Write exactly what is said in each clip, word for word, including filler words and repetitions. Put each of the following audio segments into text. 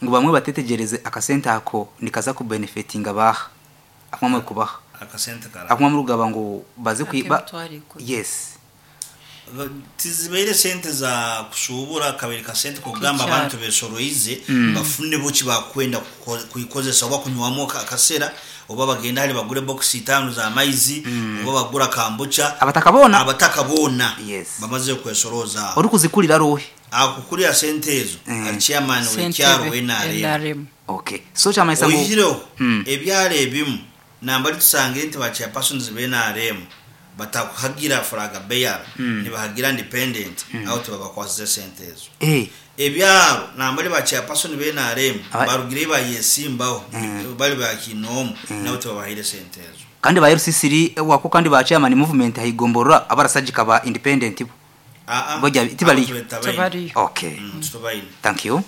Ngu bamwe batetegyereze akasente ako nikaza kubenefitinga baha akumwe kubaha. Akasente kara? Akumwe murugaba ngu baze kwiba. Ak'emitwaro ikumi. Yes. Tizibaire sente za kushubura kabiri kasente kugamba Kikyaro. Abantu besoroize bafune buki bakwenda kuko- kuikozesa oba kunywamu akasera oba bagenda hali bagure box itaano za maizi oba bagura kambucha. Abataka boona. Abataka boona. Yes. Bamaze kwesoroza. Ori kuzikurira rohe? Akukurira sente ezo ali chairman w'ekyaro Ssentebe, we N R M. N R M. Okay, so kyamanyisa ngu Oyihireho Mm. ebyaro ebimu nambari tusangire nti ba chairpersons be N R M batakuhagira flag bearer, nibahagira independent, aho tubabakwasize sente ezo. Eh ebyaro nambari ba chairperson be N R M Aba- barugire bayesimbaho bali bakinomu, nabo tubabahire sente ezo. Kandi ba R C C wako kandi ba chairman movement hayigomborora abarasajika ba independent bo? Ah, ah. Bojya tibaliyo? Tebariyo. Okay. Mm, tubaine. Thank you.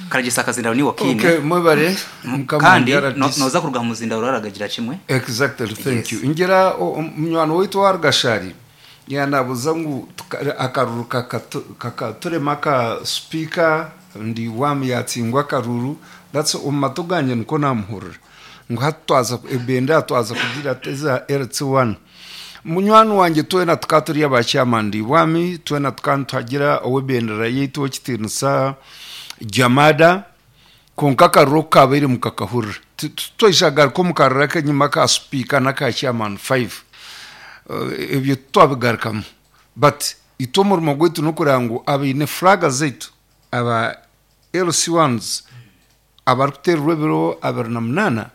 Karagisa akazindaro ni wakine. Okay, mwebare mukama. Kandi wange no- R D C. noza kuruga mu muzindaro aragagira kimwe. Exactly, thank Yes. you. Ngira o- o- munywani waitu wa Rugashari yanabuza ngu tuka- akaruru kakatu- kakaturema ka speaker ndi wami yatsingwa akaruru. That's omu matu ganje niko namuhurira ngu hati twaza ebendera twaza kugira teza L C one. Munywani wanje, twena tukaba turi aba chairman ndi bwami, twena tukaba nituhagira ow'ebendera yaitu ow'ekitiinisa Jamada, konka akaruru kabaire mukakahurira. Twaishagaruka omu karuru ak'enyima ka speaker n'aka chairman five. Eh, ebyo twabigarukamu, but itwe omurimo gwaitu n'okureba ngu abaine flaga zaitu aba L C ones abarikuteererwa ebiro abiri na munaana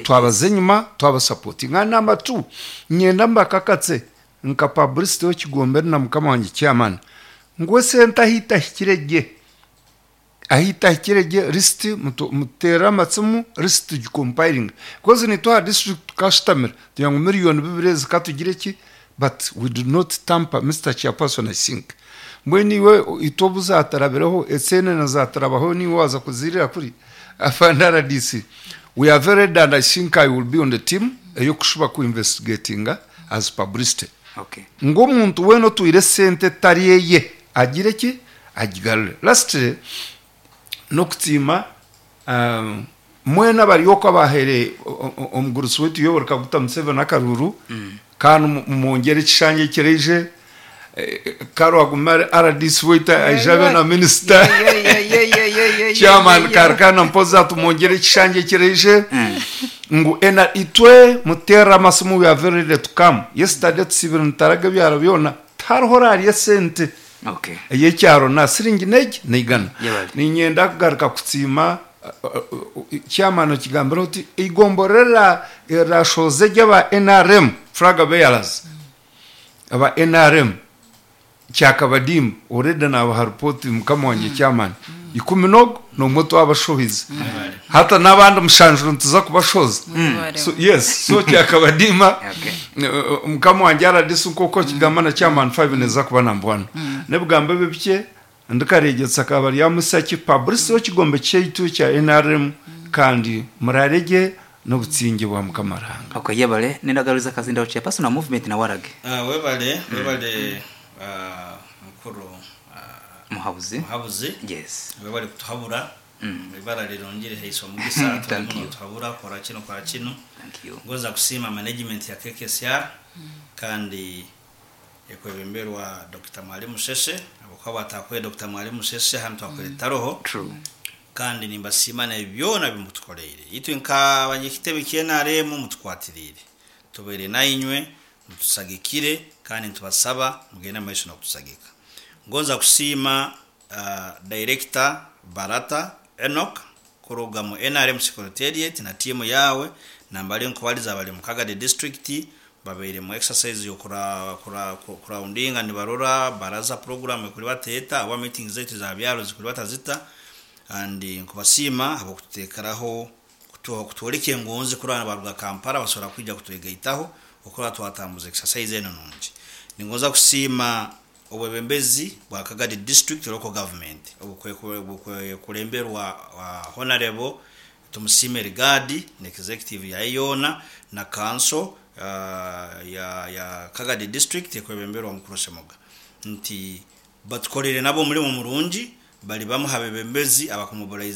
twabaza enyuma twabasapotinga. Number two, nyenda mbakakatse nka publicity w'ekigombere na mukama wange chairman ngu esente ahitahikire gye ahitahikire gye lisiti muteere amatsimu lisiti tugicompiling, because nitwe aha district tukashitamira tugira ngu miliyoni bibiri ezi katugire ki, but we do not tamper. Mister Chairperson, I think mbwenu iwe itwe obu zatarabireho esente zatarabaho niwe waza kuzirira kuri afande R D C. We are very ready and I think I will be on the team eyokushuba ku investigatinga as publicity Okay ng'omuntu weena otwire esente etari eye agire ki agigarure. Lastly, n'okutiima um, mwena bari okwo abahere omugurusi wetu Yoweri Kaguta Museveni akaruru kandi mu- mwongere ekishanja ekireije karwaguma R D C waitu aije abe na minisita chairman karikana mpoza tumwongere ekishanja ekireije ngu ena itwe muterera amasimu. We are very ready to come. Yesterday tusibire nitaraga ebyaro byona, tihariho orarya esente Okay ey'ekyaro na siringi negi neigana. Yebale. Ninyenda kugaruka kutsiima chairman okigambira oti igomborera erashoze ry'aba N R M flag bearers aba N R M kyakabadimu already nabaha report mukama wange chairman ikumi nogo nomwe twabashohize hata n'abandi mushanjuro nituza kubashoza. So, yes, so kyakabadima. Okay. uh, mukama wange R D C nk'uko kigamba na chairman five neza kuba number one nebigambo ebyo bike ndikaregetsa akaba rya musaki publicity w'ekigombe kyaitu kya N R M kandi murarege n'obutsinge bwa mukama Ruhanga. Okay, yebale. Nendagaruza akazindaro chairperson na movement na warage. Ah, webale webale, ah, mukuru ah, muhabuzi. Muhabuzi. Yes. Webale kutuhabura, ibara rirongere heiswa mugisa. Thank you. Tuhabura kora kino kora kino. Thank you. Ngoza kusiima management ya K K S R kandi ekwebemberwa Doctor Mwalimu Sese abakuba batakwe Doctor Mwalimu Sese hano twakwere taroho. True. Kandi nimbasiima na byona bimutukoleire itwe nk'abanyekitebe K N R M mutukwatirire tubeere nainywe mutusagikire kandi ntubasaba mugende mu maiso nokutusagika. Ngonza kusiima uh, director Barata Enoch kuruga mu N R M secretariat na timu yawe nambali nkubaliza bali mu Kagadi district babeire mu exercise yo kura kura kuraundinga nibarora baraza program kuri bateta aba meeting zetu za byaro zikuri batazita and nkubasiima abo kututekeraho kutworeka engonzi kuri abana baruga Kampala basobora kwija kutwegaitaho okura twatambuza exercise eno nungi. Ningoza kusiima obwebembezi bwa Kagadi district local government obukwe kulemberwa Honorable Tumusime Rigadi ne executive ya yona na council uh, ya ya Kagadi district ekwebemberwa mukuru Semoga nti batukolere nabo omulimu murungi bali bamu habebembezi abakumobilizinga.